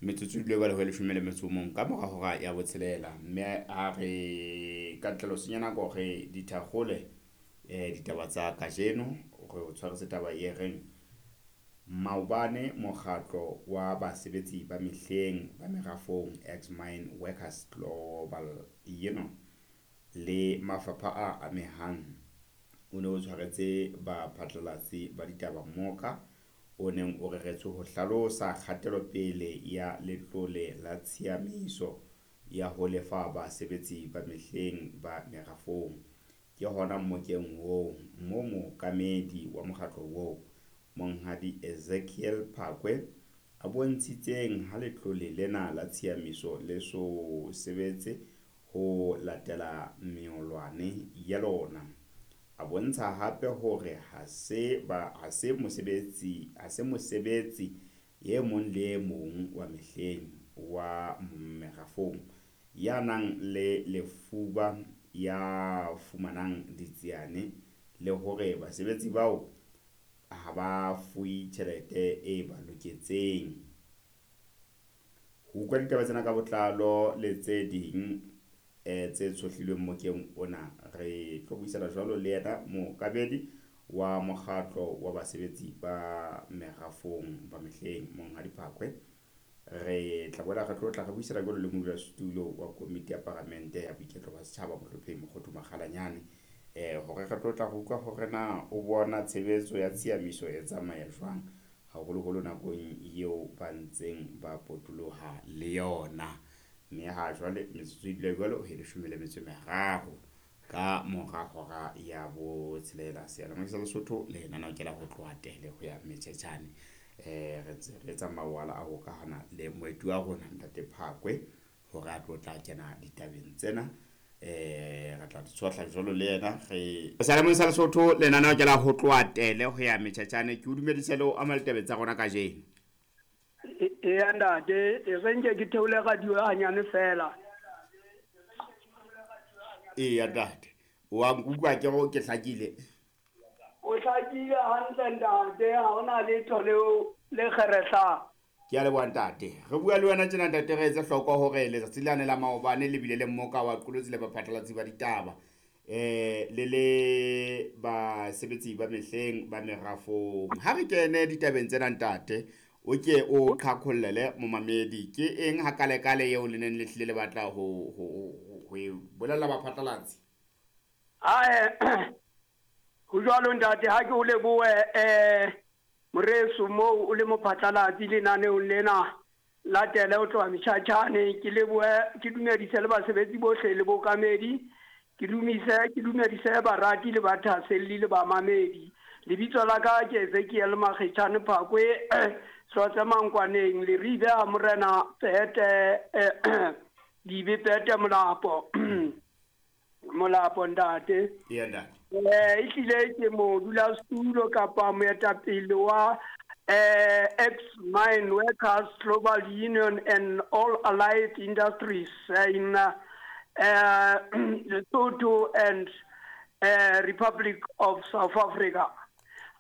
Metsotso e dule jwale ho leshome le metso o mong ka mora hora ya botshelela, mme a re ka ntle ho senya nako re di thakgole ditaba tsa kajeno. Re o tshwaretse taba e reng maobane mokgatlo wa basebetsi ba mehleng ba merafong Ex Mine Workers Global Union le mafapha a amehang o ne o tshwaretse baphatlalatsi ba ditaba mmoka o neng o reretswe ho hlalosa kgatelopele ya letlole la tshiamiso ya ho lefa basebetsi ba mehleng ba merafong. Ke hona mmokeng oo moo mookamedi wa mokgatlo oo, Monghadi Ezekiel Phakwe, a bontshitseng ha letlole lena la tshiamiso le so sebetse ho latela melawana ya lona. A bontsha hape hore ha se mosebetsi e mong le e mong wa mehleng wa merafong ya nang le lefuba ya fumanang ditsiane le hore basebetsi bao ha ba fuwe tjhelete e ba loketseng. Ho utlwa ditaba tsena ka botlalo le tse ding tse tshohlilweng mokeng ona, re tlo buisana jwalo le yena mookamedi wa mokgatlo wa basebetsi ba merafong ba mehleng, Monghadi Phakwe. Re tla boela re tlo tla re buisana jwalo le modulasetulo wa komiti ya paramente ya boiketlo ba setjhaba, Mohlomphehi Mokhothu Makgalanyane, hore re tlo tla re utlwa hore na o bona tshebetso ya tshiamiso e tsamaya jwang, haholoholo nakong eo ba ntseng ba potoloha le yona. Mme ha jwale metsotso e dula jwalo ho leshome le metso e meraro ka mora hora ya botshelela. Seyalemoya sa Lesotho lenaneo ke la ho tloha tele ho ya Mtjhetjhane. Re ntse re etsa mawala a hokahana le moeti wa rona Ntate Phakwe hore a tlo tla kena ditabeng tsena. Re tla di tshohla jwalo le yena. Re seyalemoya sa Lesotho lenaneo ke la ho tloha tele ho ya Mtjhetjhane. Ke o dumedise le ho ama ditabeng tsa rona kajeno. Eya ntate, e re nke ke theole radio hanyane fela. Eya ntate, wa nkutlwa ke go ke hlakile? O hlakile hantle ntate, ha hona letho leo le kgerehlang. Ke a leboha ntate. Re bua le wena tjena ntate, re etse hloko hore letsatsi lane la maobane le bile le mmoka wa qolotsi le baphatlalatsi ba ditaba le le basebetsi ba mehleng ba merafong. Ha re kene ditabeng tsena ntate, o ke o qhaqhollele momamedi ke eng ha kale-kale eo le neng le hlile le batla ho e bolella baphatlalatsi? Ae, ho jwalo ntate, ha ke o lebohe moreso moo o le mophatlalatsi lenaneong lena la tele ho tloha Mtjhatjhane. Ke lebohe, ke dumedise le basebetsi bohle le bookamedi, ke dumedise barati le bathaselli le bamamedi. Lebitso la ka ke Ezekiel Makgetjhane Phakwe, Hlotse Mankwaneng, Leribe a Morena Pete, Dibe Pete Molapo. Molapo ntate. Eya ntate. Ehlile ke modulasetulo kapa moetapele wa Ex Mine Workers Global Union and All Allied Industries in Lesotho and Republic of South Africa.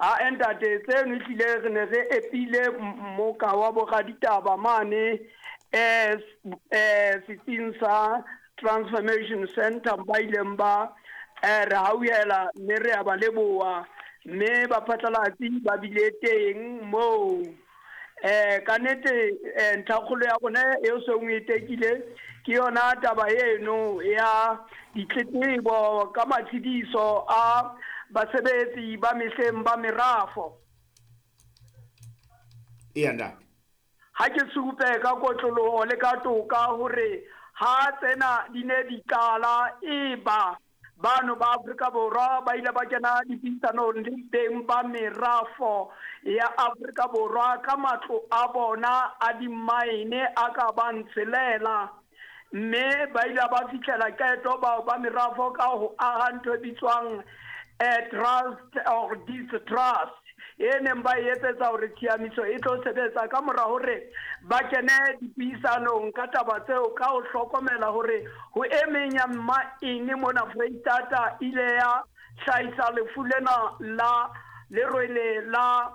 Ha ntate, tseno ehlile re ne re epile mmoka wa boraditaba mane setsing sa Transformation Center, ba ileng ba re hauhela mme re a ba leboha, mme baphatlalatsi ba bile teng moo. Ka nnete ntlhakgolo ya rona eo seng e tekile ke yona taba eno ya ditletlebo ka matshediso a basebetsi ba mehleng ba merafo. Eya ntate. Ha ke supe ka kotloloho le ka toka hore ha tsena di ne di qala, e ba bano ba Afrika Borwa ba ile ba kena dipuisanong le beng ba merafo ya Afrika Borwa ka matlo a bona a dimaene a ka bang tshelela, mme ba ile ba fihlela qeto bao ba merafo ka ho aha ntho e bitswang trust or distrust e neng ba e etsetsa hore tshiamiso e tlo sebetsa ka mora hore ba kene dipuisanong ka taba tseo, ka ho hlokomela hore ho e meng ya mmaene mona Freistata ile ya hlahisa lefu lena la lerwele la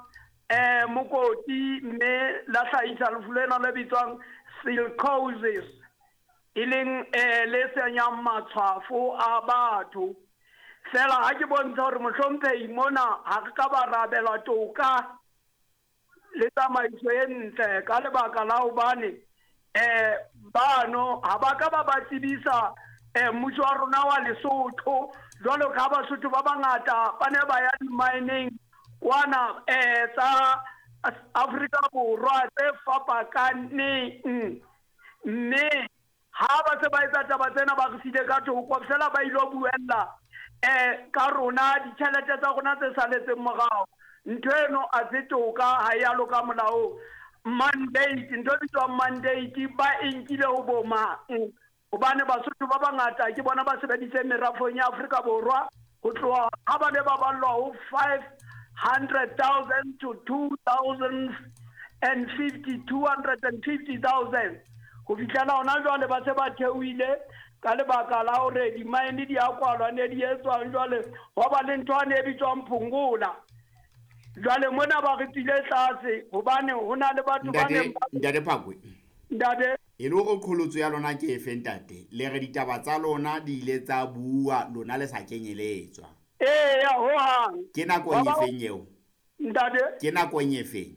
Mokoti, mme la hlahisa lefu lena le bitswang silicosis, e leng le senyang matshwafo a batho. Fela ha ke bontsha hore mohlomphehi mona ha re ka ba rabela toka le tsamaiso e ntle ka lebaka la hobane bano ha ba ka ba ba tsebisa mmuso wa rona wa Lesotho, jwalo ka Basotho ba bangata ba ne ba ya di-mineng kwana tsa Afrika Borwa tse fapakaneng. Mme ha ba se ba etsa taba tsena, ba re siile ka thoko fela, ba ilo buella ka rona ditjhelete tsa rona tse saletseng morao. Ntho eno a se toka, ha ya loka molaong. Mandate, ntho e bitswang mandate, ba e nkile ho bo mang? Hobane Basotho ba bangata ke bona ba sebeditseng merafong ya Afrika Borwa ho tloha ha ba ne ba ballwa ho 500,000 to 2050, 250,000, ho fihlela hona jwale ba se ba theohile ka lebaka la hore di-mine di a kwalwa, ne di etswang jwale hwa ba le ntho ane e bitswang phongola. Jwale mona ba re tswile tlase hobane ho na le batho ba neng Ntate Phakwe. Ntate. E le hore qholotso ya lona ke efe, ntate? Le re ditaba tsa lona di ile tsa bua lona le sa kenyeletswa. Eya, hohang. Ke nakong e feng eo? Ntate. Ke nakong e feng?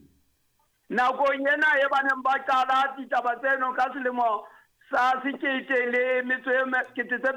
Nakong ena e ba neng ba qala ditaba tseno ka selemo sa sekete le metso e kete tse